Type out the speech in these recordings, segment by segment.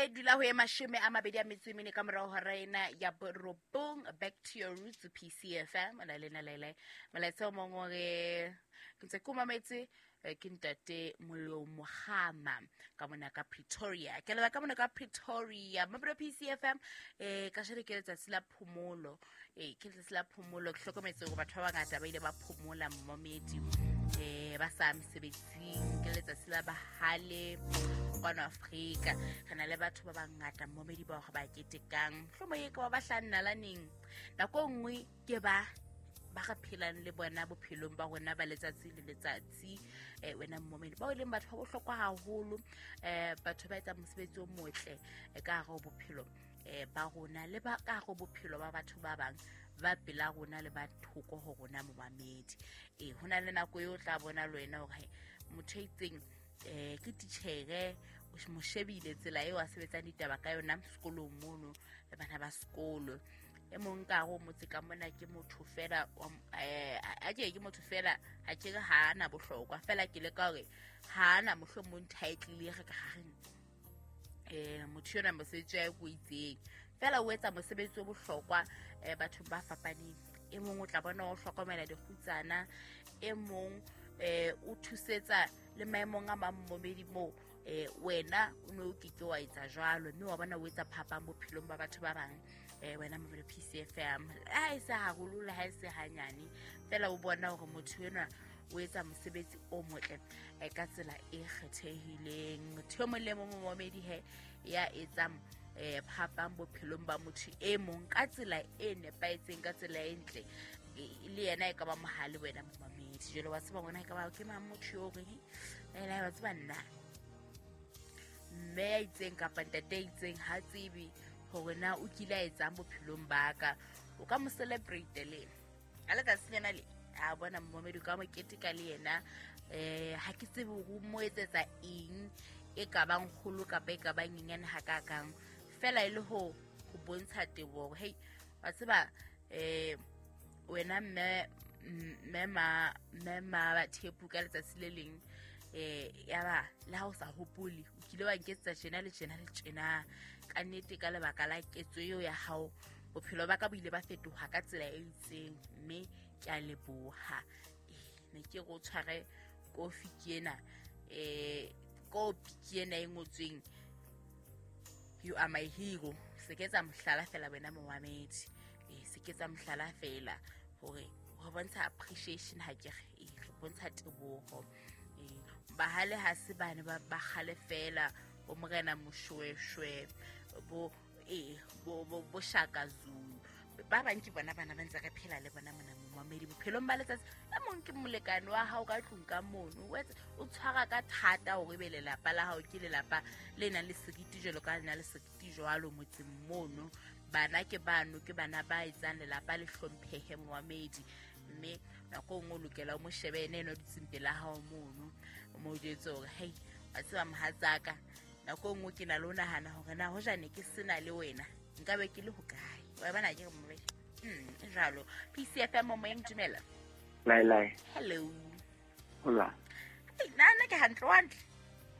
E dula ho e 24 ka morao hora ena ya 9. Back to your roots, PCFM. Na le na le molaetsa o mong o re ke ntse ke o mametse, ke ntate Mollo Mohama ka mona ka Pretoria. Ke leba ka mona ka Pretoria. Mabro PCFM, ka jeno ke letsatsi la phomolo. Ke letsatsi la phomolo. Ke hlokometse hore batho ba bangata ba ile ba phomola momedi. Ba sa mesebetsing. Ke letsatsi la bahale kwano Afrika. Re na le batho ba bangata momedi ba hore ba ketekang. Mohlomong e ka ba ba hlannalaneng. Nako e nngwe ke ba re phelang le bona bophelong ba rona ba letsatsi le letsatsi. Wena momedi bao e leng batho ba bohlokwa haholo, batho ba etsang mosebetsi o motle ka hare ho bophelo ba rona le ba ka hare ho bophelo ba batho ba bang ba pela rona le ba thoko ho rona momamedi. Ho na le nako eo o tla bona le wena hore motho a itseng ke titjhere, o mo shebile tsela eo a sebetsang ditaba ka yona sekolong mono le bana ba sekolo. E mong ka hare ho motse ka mona ke motho fela, a ke ke motho fela, ha ke re ha ana bohlokwa fela, ke leka hore ha ana mohlomong title re ka reng motho yona mosebetsi wa o itseng fela o etsa mosebetsi o bohlokwa bathong ba fapaneng. E mong o tla bona o hlokomela dikgutsana, e mong o thusetsa le maemong a mang momedi moo wena o ne o ke ke wa etsa jwalo, mme wa bona o etsa phapang bophelong ba batho ba bang. Wena mobile PCFM ha e se haholo le ha e se hanyane fela, o bona hore motho enwa o etsa mosebetsi o motle ka tsela e kgethehileng. Motho e mong le mong momedi he ya etsang phapang bophelong ba motho e mong ka tsela e nepahetseng, ka tsela e ntle, le yena e ka ba mohale wena momamedi. Jwale wa tseba ngwana e ka ba ke mang motho yo reng ena, wa tseba nna mme ya itseng kapa ntate ya itseng ha tsebe hore na o kile a etsang bophelong ba ka. O ka mo celebrate le ka letsatsi lena le a bona momamedi, o ka mo keteka le yena. Ha ke tsebe hore o mo etsetsa eng e ka bang kgolo kapa e ka bang nyenyane hakakang, fela e le ho bontsha teboho hore hei wa tseba wena mme ma Thepu ka letsatsi le leng ya ba le ha o sa hopole o kile wa nketsetsa tjena le tjena le tjena. Ka nnete ka lebaka la ketso eo ya hao bophelo ba ka bo ile ba fetoha ka tsela e itseng, mme ke a leboha. Ne ke re o tshware kofi ke ena, kopi ke ena e ngotsweng you are my hero. Se ke tsa mohlala fela wena momamedi, se ke tsa mohlala fela hore ho bontsha appreciation, ha ke re re bontsha teboho. Bahale ha se bane ba kgale fela, bo morena Moshweshwe, bo bo Shaka Zulu, ba bang ke bona bana ba ntse re phela le bona mona momamedi bophelong ba letsatsi. E mong ke molekane wa hao ka tlung ka mono, o tshwara ka thata hore ebe lelapa la hao ke lelapa le nang le seriti jwalo ka le na le seriti jwalo motseng mono. Bana ke bano, ke bana ba etsang lelapa le hlomphehe momamedi, mme nako e nngwe o lokela o mo shebe ene eno dutseng pela hao mono, o mo jwetse hore hei wa tseba mohatsaka, nako e nngwe ke na le ho nahana hore na hoja ne ke sena le wena nkabe ke le hokae. Wa bona ke re momamedi jwalo. PCFM moyeng, dumela. Lai lai. Hello. Hola. Nna ke hantle, wa hantle?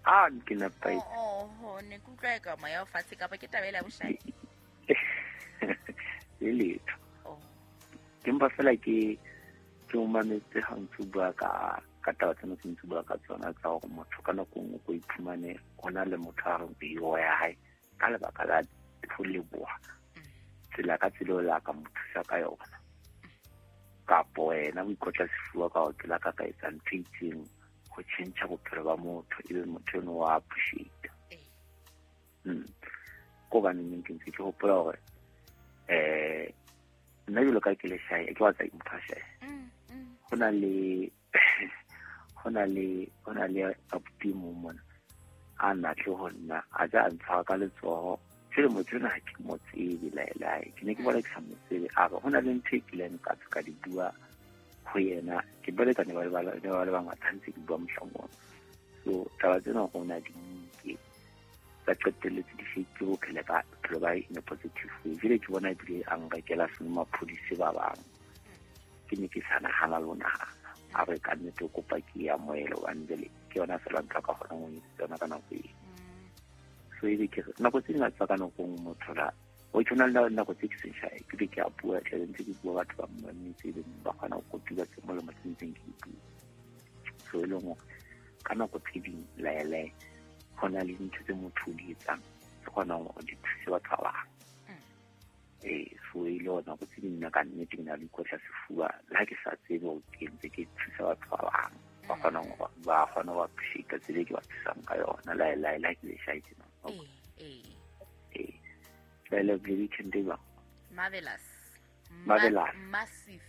Ah, ke nepahetse. Oh, ne ke utlwa eka moya o fatshe kapa ke taba ela boshai. Le letho. Ke mpa fela ke o mametse ha ntse o bua ka taba tsena tse ntse o bua ka tsona tsa hore motho ka nako nngwe ko iphumane ho na le motho a reng hero ya hae ka lebaka la ho leboha tsela ka tsela eo la ka mo thusa ka yona, kapo wena o ikotla sefuba ka hore ke la ka ka etsa ntho e itseng ho tjhentjha bophelo ba motho, ebe motho eno wa appreciate. Ko hobaneng ke ntse ke hopola hore nna jwalo ka ke le shae, ke wa tsa motho a shae. Ho na le abuti mong mona a natle ho nna, a ja a ntshwara ka letsoho. Jwale motho enwa ha ke mo tsebe laelae, ke ne ke bona ke sa mo tsebe. A re ho na le ntho e kileng ka ka di bua ho yena, ke balekane ba le bangata ntse ke bua mohlang ona. So taba tsena rona di nke tsa qetelletse di shape bophelo ba bophelo ba in a positive way. Jwale ke bona ebile a nrekela senomaphodi se ba bang, ke ne ke sa nahana le ho nahana. A re ka nnete o kopa ke ya moelo hobane jwale ke yona fela ntho a ka kgonang ho etsa yona ka nako eo. So So ebe ke re nako tse ding tsa ka nako nngwe motho la o tshwana le nako tse ke seng shy, ke be ke a bua tla ntse ke bua batho ba mmametse ebe ba kgona go kotula tse molemo tse ntseng ke di bua. So e leng hore ka nako tse ding laele go na le dintho tse motho o di etsang tse kgonang hore di thuse batho ba bang. So e le hore nako tse ding nna ka nnete ke na le ikotla sefuba le ha ke sa tsebe hore ke ntse ke thusa batho ba bang ba kgonang hore ba kgone ho appreciate tsela e ke ba thusang ka yona laele ha ke le shy tjena. Laele le weekend e jwang? Marvelous. Marvelous. Massive.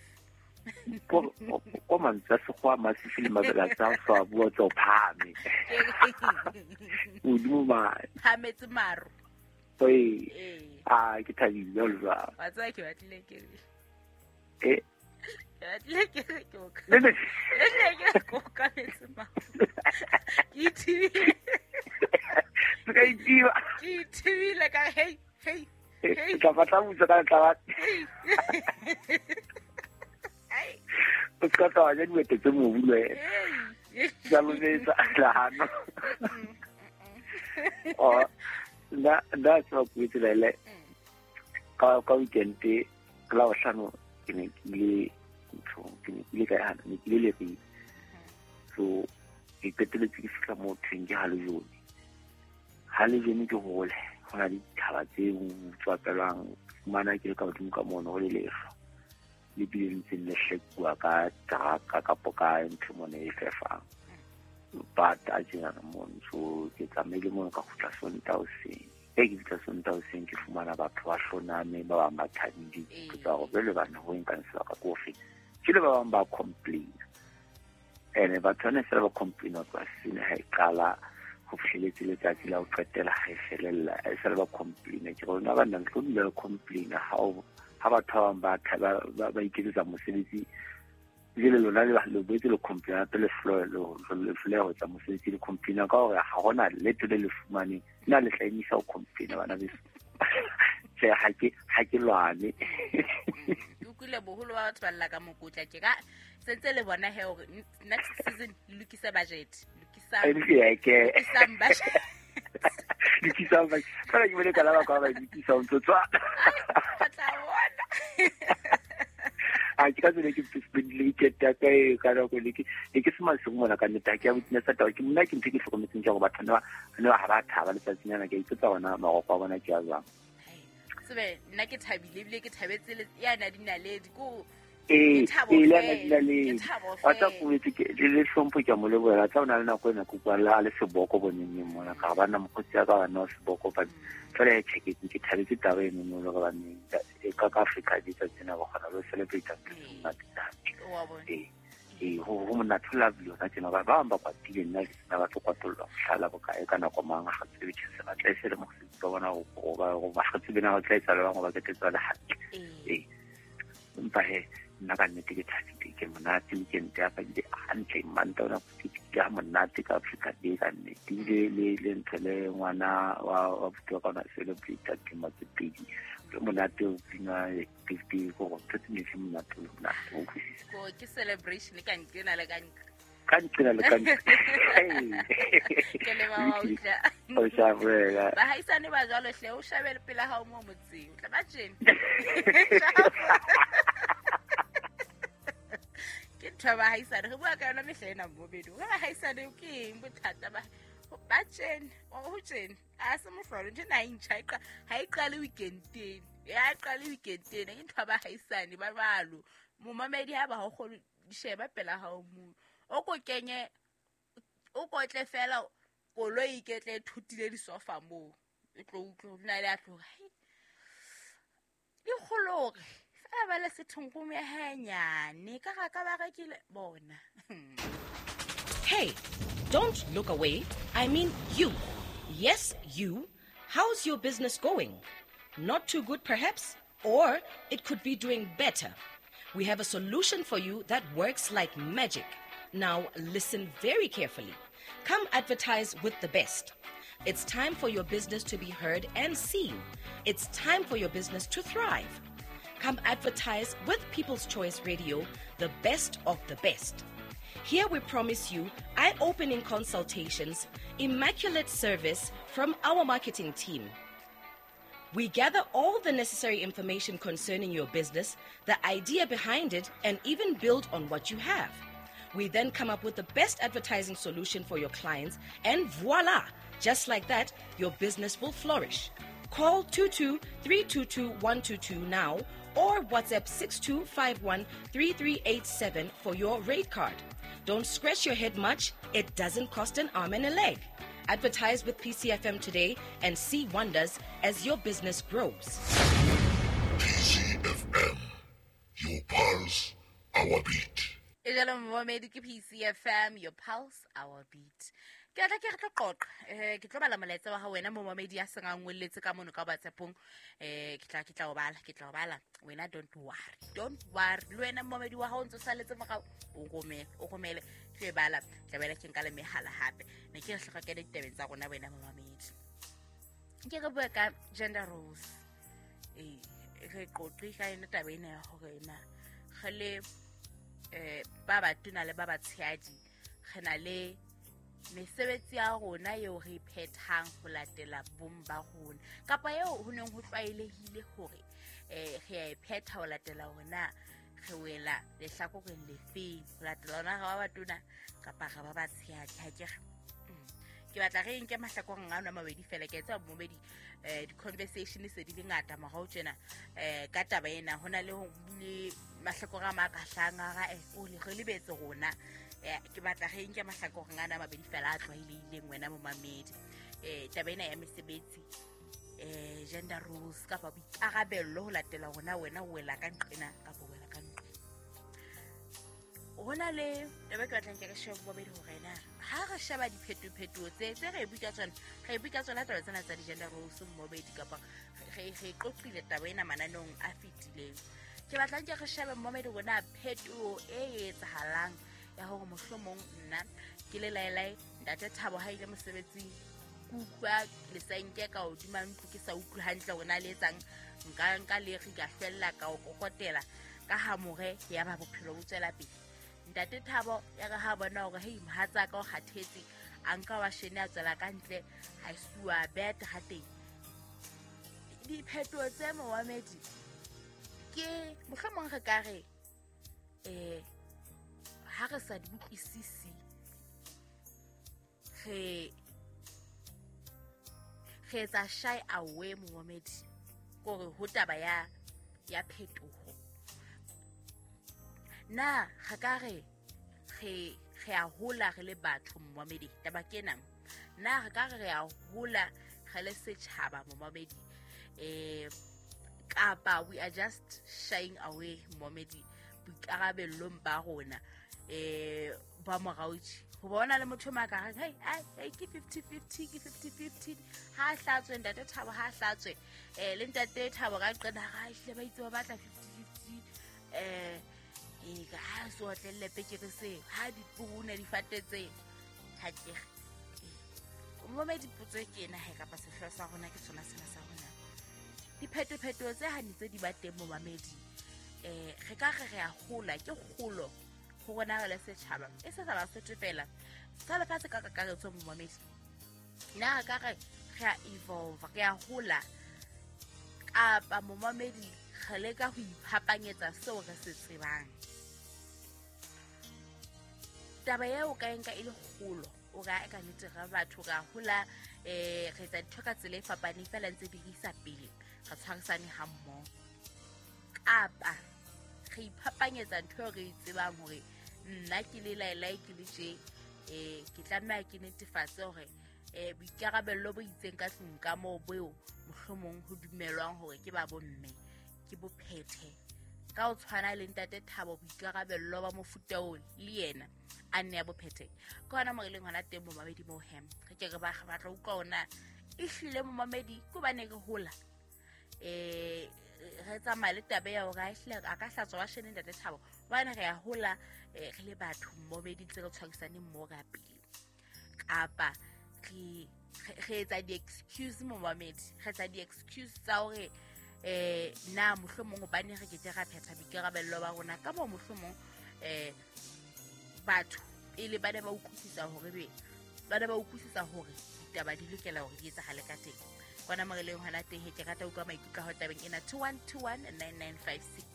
Ko mantswe a sekgowa massive le marvelous a so a bua tsa o phahame. Hodimo mane. Phahametse maru. Ee. Ah, ke thabile jwalo jwalo. Wa tseba ke batlile ke re. Eh. Ke batlile ke re ke o ka. Ne, ne. Ke batlile ke re ke o kametse maru. Ke ithibile. Se ka ithiba. Ke ithibile ka hey, hey, hey. Ke tla batla mmuso ka tla ba. Ai. O se ka tla wa ja diwete tse mobu le wena. Hey. Ke a lometsa lehano. Oh, nna tseba ko tsela ele ka weekend ka la bohlano ke ne ke ile nthong, ke ne ke ile kae hana, ne ke ile Leribe. So ke qetelletse ke fihla moo thweng ke Halejone. Halejone ke hole, ho na le dithaba tse tswapelwang, fumana ke le ka hodimo ka mono ho le lehlwa. Le bile le ntseng le hlekuwa ka teraka kapo ka ntho mona e fefang. But a tjenana mono, so ke tsamaile mono ka kgutla Sontaha hoseng. E ke fihla Sontaha hoseng ke fumana batho ba hloname, ba bang ba thabile, ke tsa hore jwale bana ho nkang sebaka ko fe. Ke le ba bang ba complain. Ene batho bana fela ba complain ho tloha sene ha e qala ho fihleletse letsatsi la ho qetela ha e felella, e sale ba complain. Ke re lona banna le tlo dula le complain ha batho ba bang ba ba iketsetsa mosebetsi. Jwale lona le boetse le complain hape le hloleha ho etsa mosebetsi, le complain ka hore ha hona letho le le fumaneng. Nna le tla emisa ho complain bana beso. Tjhe, ha ke lwane. Ke utlwile boholo ba batho ba lla ka mokotla tje ka sentse le bona he hore next season le lokise budget. Lokisang budget. Lokisang budget. Fela ke bone ka la ba kwa ba lokisa ho ntso tswa. Ai, tla bona. A ke ka tsela ke spendile weekend ya ka e ka nako le ke ne ke se masigo mona ka nnete, ha ke a witnessa taba. Ke mona ke ntho e ke hlokometseng ke hore batho ne ba ha ba thaba letsatsing lena, ke a ipotsa hore marokgo a bona ke a jwang. Tsebe nna ke thabile ebile ke thabetse le ya na dinaledi ko Ee, ke thabo ee, le fela, yana dinaledi. ke thabo Wa tsa fela. ko etse ke le hlompho ke a mo lebohela. Tla o na le nako ena ke utlwa le a le seboko boneng eng mona, ka ba nna mokgotsi ya ka wa nna wa seboko, but fela ya check ke thabetse taba eno mo le gore baneng ka ka Africa di tsa tsena ba kgona le ho celebrate ntho tse monate tse hantle. Wa bona. Ee, ee, ho monate ho lovely hona tjena. Ba bang ba kwatile, nna ke sena ba tlo kwatollwa mohlala bokae ka nako mang, ga tsebe tjhe se batla e se le mosebetsi wa bona ho ba ga tsebe na ho tla etsahala bang, ho ba ketsetsa le hantle. Ee. Empa he, nna ka nnete ke thabile, ke monate weekend ya ka ebile hantle, Mantaha ona ke fihlile ha monate ka Africa Day ka nnete. Ebile le ntho le ngwana wa abuti wa ka ona celebrate dilemo tse pedi. Le monate o bina birthday, ko gore ntho tse ne di monate, le monate, o utlwisisa. Ko ke celebration ka nqena le ka nqa. Ka nqena le ka nqa. Ke le ba wa utlwa. O shabela. Bahaisane ba jwalo hle, o shabele pela hao mo motseng. O tla ba tjena. Ke ntho ya bahaisane, re bua ka yona mehla ena mo bedu. Re bahaisane ke eng bothata ba tjena, o ho tjena. A se mohlolo, ntho ena ha e ntjha, ha e qale weekend-eng. Ya qale weekend-eng, ke ntho ya bahaisane ba jwalo. Momamedi ha ba ho kgone, sheba pela hao moo. O ko kenye, o kotle fela koloi e ketle e thutile disofa moo. E tlo utlwe ho na le a tlo, hai. Di kgolo hore fela ba le sethongkong ya hae nyane, ka ga ka ba rekile bona. Hey, don't look away. I mean you. Yes, you. How's your business going? Not too good, perhaps? Or it could be doing better. We have a solution for you that works like magic. Now, listen very carefully. Come advertise with the best. It's time for your business to be heard and seen. It's time for your business to thrive. Come advertise with People's Choice Radio, the best of the best. Here we promise you eye-opening consultations, Immaculate service from our marketing team. We gather all the necessary information concerning your business, the idea behind it, and even build on what you have. We then come up with the best advertising solution for your clients, and voila! Just like that, your business will flourish. Call 22-322-122 now or WhatsApp 6251-3387 for your rate card. Don't scratch your head much. It doesn't cost an arm and a leg. Advertise with PCFM today and see wonders as your business grows. PCFM, your pulse, our beat. E jalo momamedi ke PCFM, your pulse, our beat. Ke atla ke re tlo qoqa, ke tlo bala molaetsa wa hao wena momamedi ya seng a ngwelletse ka mono ka WhatsAppong. Ke tla o bala, ke tla o bala. Wena don't worry, don't worry. Le wena momamedi wa hao o ntso saletse morao, o romele, ke e bala. Tla bela ke nka le mehala hape. Ne ke re hloka ke ditabeng tsa rona wena momamedi. Ke re bua ka gender roles. Re qoqe ka yona taba ena ya hore na re le ba batona le ba batshehadi re na le mesebetsi ya rona eo re phethang ho latela bong ba rona kapa eo ho neng ho tlwaelehile hore re a e phetha ho latela hona re wela lehlakoreng lefeng, ho latela hona re ba batona kapa re ba batshehadi. Ha ke re ke batla re nke mahlakoreng a mabedi fela, ke etsa momedi di-conversation se di le ngata morao tjena ka taba ena. Ho na le mahlakore a mang a ka hlahang a re o le re lebetse rona. Ke batla re nke mahlakoreng ana a mabedi fela a tlwaelehileng wena momamedi. Taba ena ya mesebetsi, gender roles kapa boikarabello ho latela rona wena o wela ka nqena kapa o wela ka nqena. Ho na le taba e ke batlang ke re shebe bobedi hore na ha re sheba diphetophetoho tse re bua ka tsona, re bua ka tsona taba tsena tsa di-gender roles mmobedi kapa re qoqile taba ena mananeong a fetileng. Ke batlang ke re shebe mmobedi rona phetoho e etsahalang ya hore mohlomong nna ke le laelae ntate Thabo ha ile mosebetsing, ke utlwa lesenke ka hodima ntlo, ke sa utlwe hantle hore na le etsang, nka le re ka hlwella ka o kokotela ka hamore ya ba bophelo bo tswela pele. Ntate Thabo ya re ha bona hore hei mohatsa ka o kgathetse, a nka wa shene a tswela ka ntle, a suwa bet ha teng. Diphetoho tse momamedi ke mohlomong re ka re ha re sa di utlwisisi re etsa shy away momamedi kore ho taba ya phetoho. Na re ka re re a hola re le batho momamedi, taba ke ena. Na re ka re re a hola re le setjhaba momamedi, kapa we are just shying away momamedi boikarabellong ba rona ba moraotjhe. Ho bona le motho ma ka re hey ke 50-50, ke 50-50, ha hlatswe ntate Thabo, ha hlatswe le ntate Thabo ka qena ha hle ba itse ba batla 50-50, ka ha so otlelle pekere se ha dipoone di fatetse ha ke momedi. Potso ke ena he kapa sehlooho sa rona ke sona sena sa rona. Diphetophetoho tse ha ntse di ba teng momamedi, re ka re re a hola, ke kgolo ho rona re le setjhaba, e se sa Basotho fela, sa lefatshe ka kakaretso momamedi. Na re ka re re a evolve, re a hola, kapa momamedi re leka ho iphapanyetsa seo re se tsebang. Taba eo ka nka e le kgolo, o ka ka nnete re batho re a hola, re etsa dintho ka tsela e fapaneng fela ntse di re isa pele, re tshwarisane ha mmoho. Kapa re iphapanyetsa ntho eo re e tsebang hore nna ke le laelae ke le tje, ke tlameha ke netefatse hore boikarabello bo itseng ka tlung ka moo beo mohlomong ho dumelwang hore ke ba bomme ke bo phethe. Ka ho tshwana le ntate Thabo boikarabello ba mofuta oo le yena a nne ya bo phethe. Ke hona mo re leng hona teng momamedi moo hem. Re ke re ba batla utlwa hona ehlile momamedi ke hobane re hola, re tsamaya le taba ya hore ehlile a ka hlatswa wa shene ntate Thabo, hobane re a hola re le batho momamedi ntse re tshwarisane mmoho ka pele. Kapa re etsa di-excuse momamedi, re etsa di-excuse tsa hore na mohlomong hobane re ke ke ra phetha boikarabello ba rona ka moo mohlomong batho pele ba ne ba utlwisisa hore be Ba ne ba utlwisisa hore ditaba di lokela hore di etsahale ka teng. Kwana mo re leng hona teng he, ke rata ho utlwa maikutlo a hao tabeng ena. 21219956,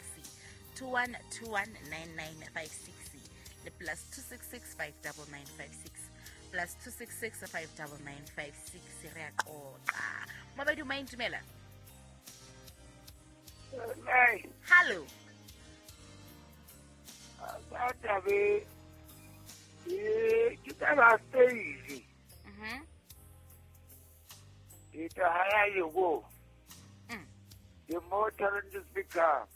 21219956 le +266 59956, +266 59956. Re a qoqa. Mobedi o intumela. Hey, Hallo. Ka tabe e ke taba stage. The higher you go, the more challenges become.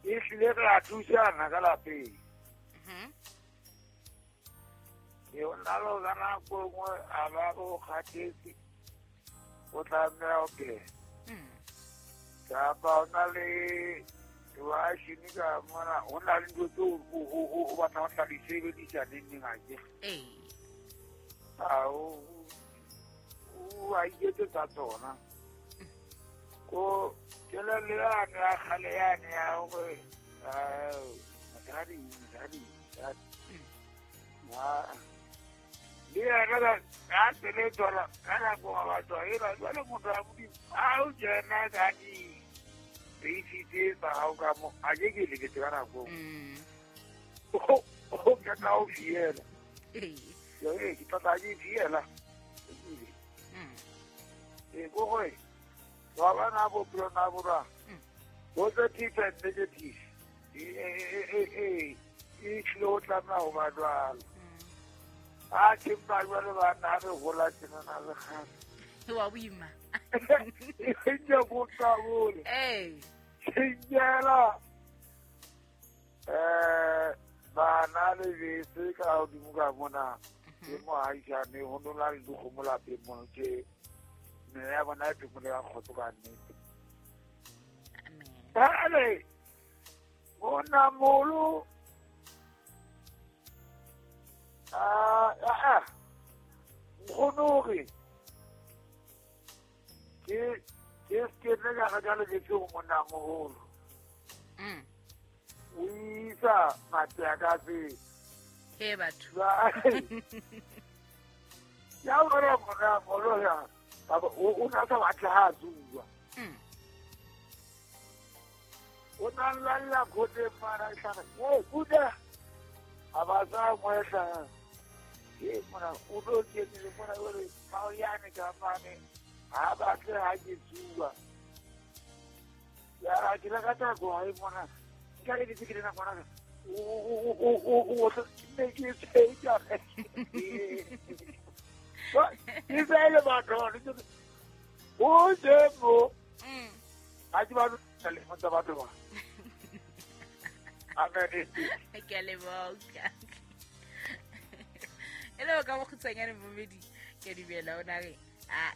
E hlile re a thusana ka lapeng. E o na le ka nako e nngwe a ba o kgathetse, o tlameha ho pheha. Kapa o na le washini ka mona, ho na le ntho tseo o batlang ho tla di sebedisa neng neng akere. A o a iketsetsa tsona. Ko kelello yane ya kgale yane ya hore mosadi mosadi mosadi. Le yena ka tsela e tswala ka nako wa batho ena jwale motho wa Modimo ha o kena ka di-basic tse tsa hao ka mo a ke ke leketse ka nako o kena o fiela. Ee, ke tla ke fiela. Ee, ko gore wa bona bophelo na borwa positive and negative e tlile ho tlameha ho ba jwalo. A ke mpa jwale bana ha re hola tjenana le kgale. Wa boima. E ke qabole. Tjhingela bana le bese ka hodimo ka mona ke moahisane ho nola le dikgomo lapeng mono tje mme ya bona e phemole ka kgotso ka nnete. Amen. Jwale monnamoholo nkgono hore ke se ke nne ka reka lebese ho monnamoholo. O isa mathe ka pele. He batho. Ya bona monnamoholo ya o na sa batle ha a tsuwa. O na lalla khoteng mara hlare e kuda a ba sa moehla ke mona o tlo kenile mona jwale maoyane ka mane ha batle ha ke tsuwa. Ya ke la ka thako ha e mona nka le ditse ke lena ngwana o ne ke tsheja ke fele batho o temo ha ke ba le tsa batho ba. Amen. Ke a leboha. E le ka bokgutshwanyane momedi ke dumela o na re a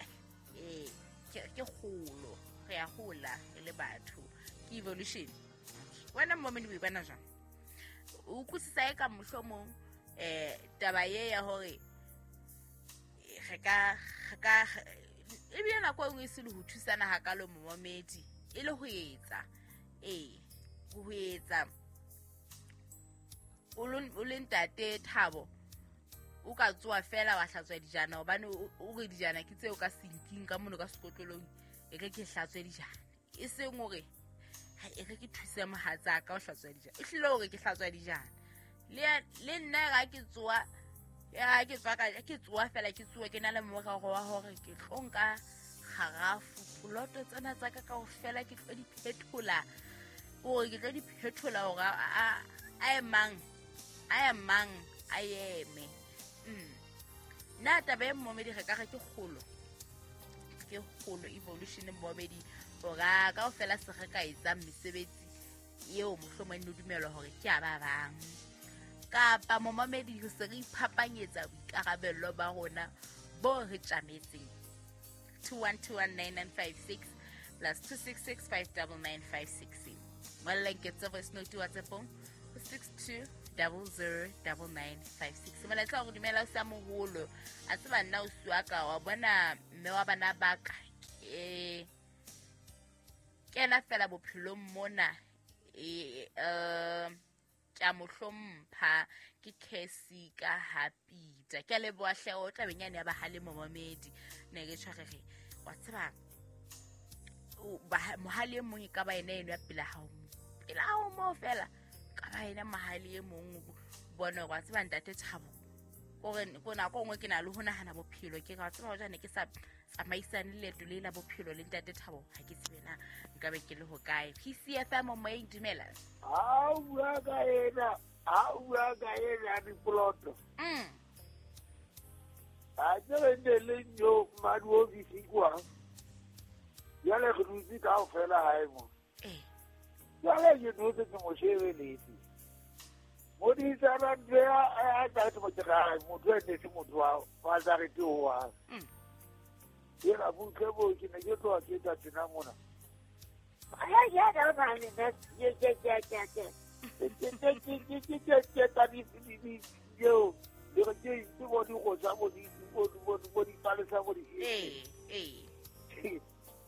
ee ke kgolo re a hola re le batho ke evolution. Wena momedi o e bona jwang? O utlwisisa e ka mohlomong taba ye ya hore re ka ebile nako e nngwe e se le ho thusana hakalo momedi e le ho etsa ho etsa o le ntate Thabo o ka tsoa fela wa hlatswa dijana hobane o re dijana ke tseo ka sinking ka mono ka sekotlolong e re ke hlatswe dijana e seng hore ha e re ke thuse mohatsa ka ho hlatswa dijana e hlile hore ke hlatswa dijana le nna ga ke tsoa ya ke tswa ka ke tsoa fela ke tsoa ke na le morero wa hore ke tlo nka kgarafu poloto tsena tsa ka kaofela ke tlo di phethola hore ke tlo di phethola hore a emang a eme. Nna taba e momedi re ka re ke kgolo evolution momedi hore kaofela se re ka etsang mesebetsi eo mohlomong e no dumelwa hore ke a ba bang kapa momamedi re se re iphapanyetsa boikarabello ba rona bo re tjametseng. 21219956 plus 266599956. Ngolleng ke tse voice note WhatsAppong 62009956. Molaetsa wa go dumela o sa moholo a tseba nna o siwa ka wa bona mme wa bana ba ka ke kena fela bophelong mona Ke a mo hlompha, ke Casey ka ha Peter. Ke a leboha hle, o tabeng yane ya bahale momamedi. Ne ke tshware re wa tseba mohale e mong e ka ba ena eno ya pela hao mo. Pela hao moo fela, ka ba ena mohale e mong o bone hore wa tseba ntate Thabo. Kore ko nako e nngwe ke na le ho nahana bophelo, ke re wa tseba hoja ne ke sa tsamaisane leeto le la bophelo le ntate Thabo, ha ke tsebe na nkabe ke le hokae. PCFM moyeng, dumela. Ha o bua ka ena, ha o bua ka ena ya dipoloto. Ha ke re ne le nyo madi ofisi kwa. Jwale re dutse kaofela hae mo. Jwale ke dutse ke mo shebeletse. Modisana ntho ya a tla mo tshega motho e ne se motho wa wa tsa re ke wa. Yena butle bo ke ne ke tloha ke tla tena mona. Ay ya ya na ne ne ye ye ye ye ye. Ke ke ke ke ke ke ke ta di di di yo le re ke ke bo di go tsa bo di bo di bo di bo di palesa bo di. Eh.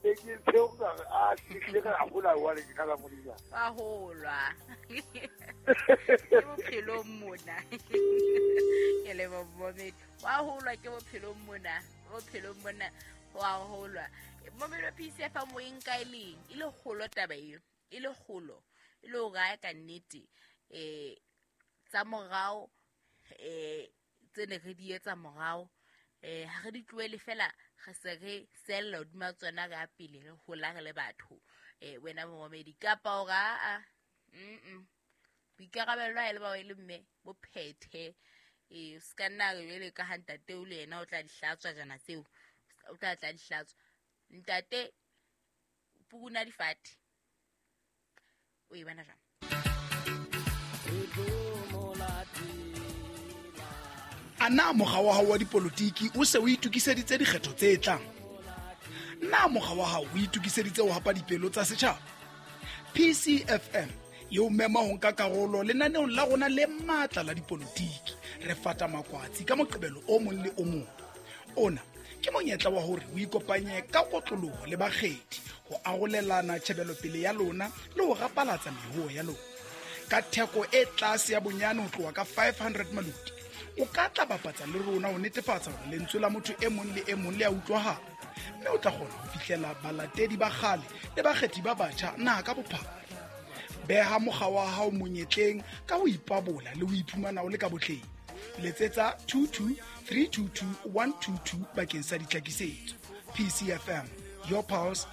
Ne ke tseo ka re, a ke ka hola wa le ka la modisa. Wa holwa. Ke bophelong mona. Ke le momedi. Wa holwa ke bophelong mona. Bophelong mona wa holwa. Momedi wa PCF moyeng kae leng? E le kgolo taba eo. E le kgolo. E le hore ha ka nnete tsa morao tse ne re di etsa morao ha re di tlohele fela, re se re sella hodima tsona re ya pele, re hola re le batho. Wena momamedi kapa hore aa, boikarabelo ha e le ba o e le mme bo phethe. O se ka nna re jwale ka ha ntate o le yena o tla di hlatswa jana tseo, o tla tla di hlatswa. Ntate pukuna difate. O e bona jwang? A na mokga wa hao wa dipolotiki o se o itokiseditse dikgetho tse tlang? Na mokga wa hao o itokiseditse ho hapa dipelo tsa setjhaba? PCFM e o mema ho nka karolo lenaneong la rona le matla la dipolotiki. Re fata makwatsi ka Moqebelo o mong le o mong. Ona ke monyetla wa hore o ikopanye ka kotloloho le bakgethi ho arolelana tjhebelopele ya lona le ho rapalatsa mehoo ya lona. Ka theko e tlase ya bonyane ho tloha ka 500 maloti, o ka tla bapatsa le rona ho netefatsa hore lentswe la motho e mong le e mong le a utlwahala, mme o tla kgona ho fihlela balatedi ba kgale le bakgethi ba batjha naha ka bophara. Beha mokga wa hao monyetleng ka ho ipabola le ho iphumana o le ka botleng. Letsetsa 22 322 122 bakeng sa ditlhakisetso. PCFM, your pulse,